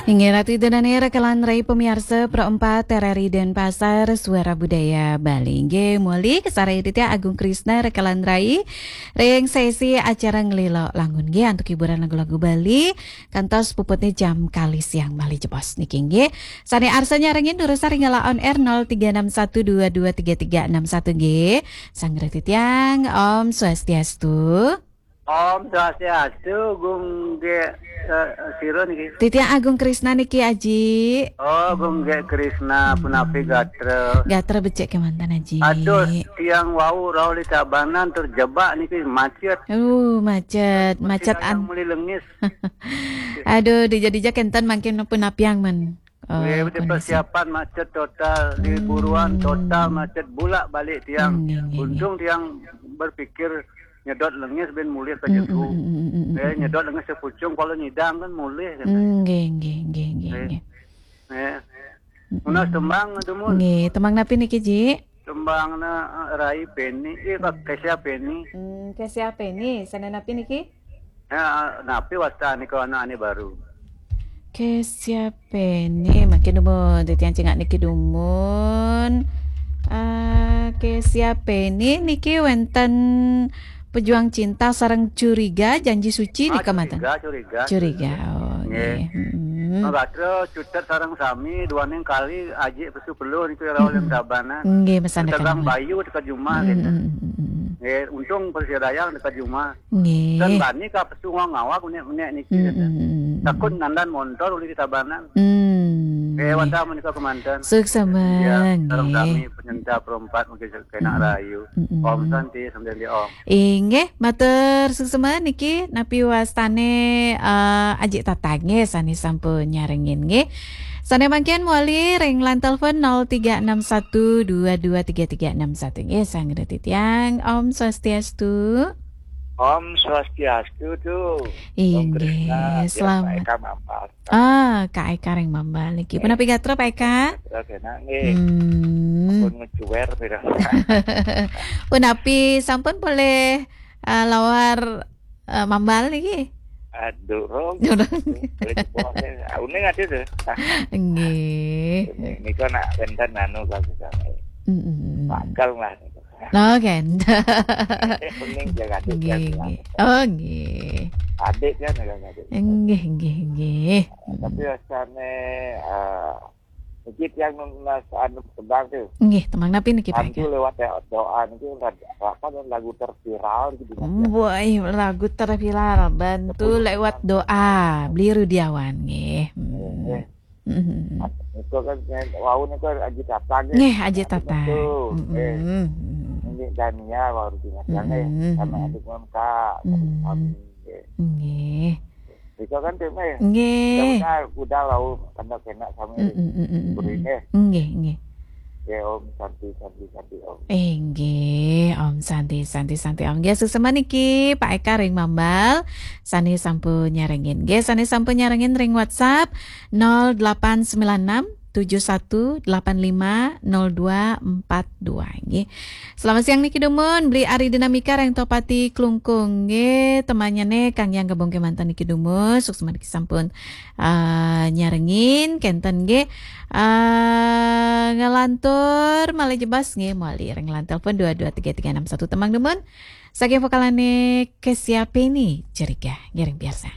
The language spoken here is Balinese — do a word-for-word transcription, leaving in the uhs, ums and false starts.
Inggih Ratu Ida dané rekan rai pamiarsa Pro empat R R I Denpasar, Suara Budaya Bali. Inggih, muli kasarengin titiang Agung Krisna rekan rai ring sesi acara Ngelila Langun nggih antuk hiburan lagu-lagu Bali kantos puputné jam kalih siang malih jebos niki nggih. Sané arsa nyarengin durusang ring galah on air nol tiga enam satu dua dua tiga tiga enam satu nggih. Sang Ratu titiang, Om Swastiastu. Om Swastiastu, Gung Ge, eh, sira niki. Titiang Agung Krisna niki, Aji. Oh, Gung Ge Krisna, punapi gatra? Gatra becik kémanten, Aji. Aduh, tiang wau rauh di Tabanan terjebak niki macet. Uh, macet, macet an- muli lengis. Aduh, dija-dija kénten mangkin punapiang men. Oh, nggih, persiapan macet total, di buruan total macet, bulak balik tiang. Nggih, nggih, nggih. Untung tiang berpikir nyedot lengis bin mulih ka Jedu. Eh, nyedot lengis ka Puchong, kalau nyidang kan mulih kan. Nggih, nggih, nggih, nggih, nggih. Eh. Menawi tembang dumun. Nggih, tembang napi niki, Ji? Tembangna, eh, Rai Peni, eh, Kesia Peni. Hmm, Kesia Peni, sané napi niki? Ya, napi wasta nika anak ane baru. Kesia Peni, mangkin dumun titiang cingak niki dumun. Ah, Kesia Peni niki wénten Pejuang Cinta sareng Curiga, Janji Suci nika manten. Curiga, Curiga. Curiga, oh, nggih. Nggih. Gatra cutet sareng sami, duaning kali ajik pesu peluh niku rauh ring Tabanan. Nggih, masan. Tegang Bayu teka jumah gitu. Nggih, untung Persiadayang teka jumah. Nggih. Dan bani ka pesu ngawak unik-unik niki. Takut nandan montor uli di Tabanan. Hmm. Nggih, wantah menika kemanten. Suksema, ya, sareng nggih. Sami penyinta perempat mungkin kena rayu. Om Santi, sambil di Om. Inggih, matur suksema niki napi wastane, eh, Ajik Tatang nggih sane sampun nyarengin nggih. Sane mangkin mawali ring line telepon nol tiga enam satu dua dua tiga tiga enam satu nggih, sang titiang. Om Swastiastu. Om Swastiastu tu. Inggih, selamat. Eka Mambal. Ah, Kak Eka ring Mambal niki. Punapi gatra, Pak Eka? Gatra kenak nggih. Hmm. Ampun ngecuwer pira. Punapi sampun polih, eh, lawar, eh, Mambal niki? Aduh, rong. Durung. Polih jebos, eh. Ah, uning ada tuh. Nggih. Ini, ini kan nak wénten anu, kalau misalnya. Mm-mm. Bakal lah. Oke. Uning jaga adik, nggih, jaga nggih. Oh, nggih. Adik kan, jaga adik. Nggih, nggih, nggih. Tapi rasane, eh, niki tiang nunas anu tembang tu. Nggih, tembang napi niki, Pak? Bantu lewat doa niki, apa, lagu terviral gitu. Woi, lagu terviral, Bantu Lewat Doa, Bli Rudiawan nggih. Hmm. Nggih. Mm-mm. Niku kan, wau niku Aji Tatang nggih. Nggih, Aji Tatang. Aji Tatang. Mm-mm. Eh, ini Dania wau di Tatang nggih. Mm-mm. Sama adik Kak, mm-mm, kami nggih. Nggih. Niku kan tema ya. Nggih. Udah, udah, udah wau kena kena sama. Mm-mm, mm-mm, mm-mm. Beri nggih. Nggih, nggih. Ya, Om Santi, Santi, Santi, Om. Inggih, Om Santi, Santi, Santi, Om. Nggih, suksema niki Pak Eka ring Mambal, sane sampun nyarengin. Nggih, sane sampun nyarengin ring WhatsApp nol delapan sembilan enam tujuh satu delapan lima nol dua empat dua. Nggih. Selamat siang niki dumun, Bli Ari Dinamika ring Tohpati Klungkung. Nggih, temanyane kang yang gabung kemanten niki dumun, suksema niki sampun, ah, nyarengin, kenten nggih. Ah, nglantur malih jebos nggih, mawali ring line telepon dua dua tiga tiga enam satu, tembang dumun. Saking vokalane Kesia Peni, Curiga, ngiring piarsa.